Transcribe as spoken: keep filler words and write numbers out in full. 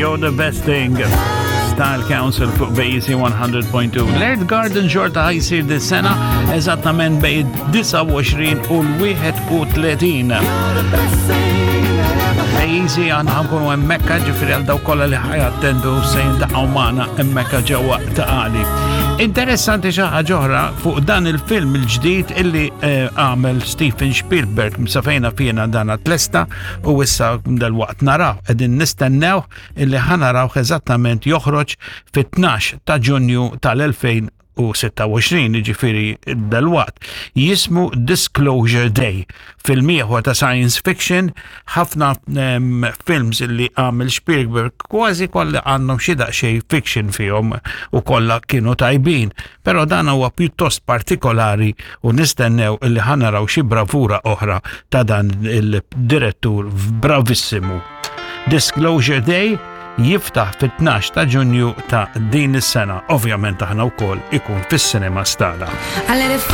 You're the Best Thing. Style Council fuq B A C one hundred point two. L-Earth Garden xorta ħa jsir dis-sena, eżattament bejn disgħa u għoxrin u l-wieħed u tletin. B A C aħna ħa nkunu hemmhekk, ġifieri għal dawk kollha li ħa jattendu se jiltaqgħu magħna hemmhekk ġewwa Ta' Qali. Interessanti xi ħaġa oħra fuq dan il-film il-ġdid illi eh, għamel Steven Spielberg, msafejna fjena dan tlesta u issa dal-waqt naraw, qegħdin nistennew illi ħa naraw eżattament joħroġ fit-tnax ta' Ġunju tal-elfejn u sitta u għoxrin, ġifieri dal-waqt. Jismu Disclosure Day. Film ieħor ta' science fiction, ħafna um, films illi għamel Spielberg kważi kollha għandhom xi daqsxejn fiction fihom u kollha kienu tajbin. Però dan huwa pjuttost partikolari u nistennew illi ħa naraw xi bravura oħra ta' dan il-direttur bravissimu. Disclosure Day jiftaħ fit-tnax ta' Ġunju ta' din is-sena. Ovvjament aħna wkoll ikun fis-cinema stala. I let it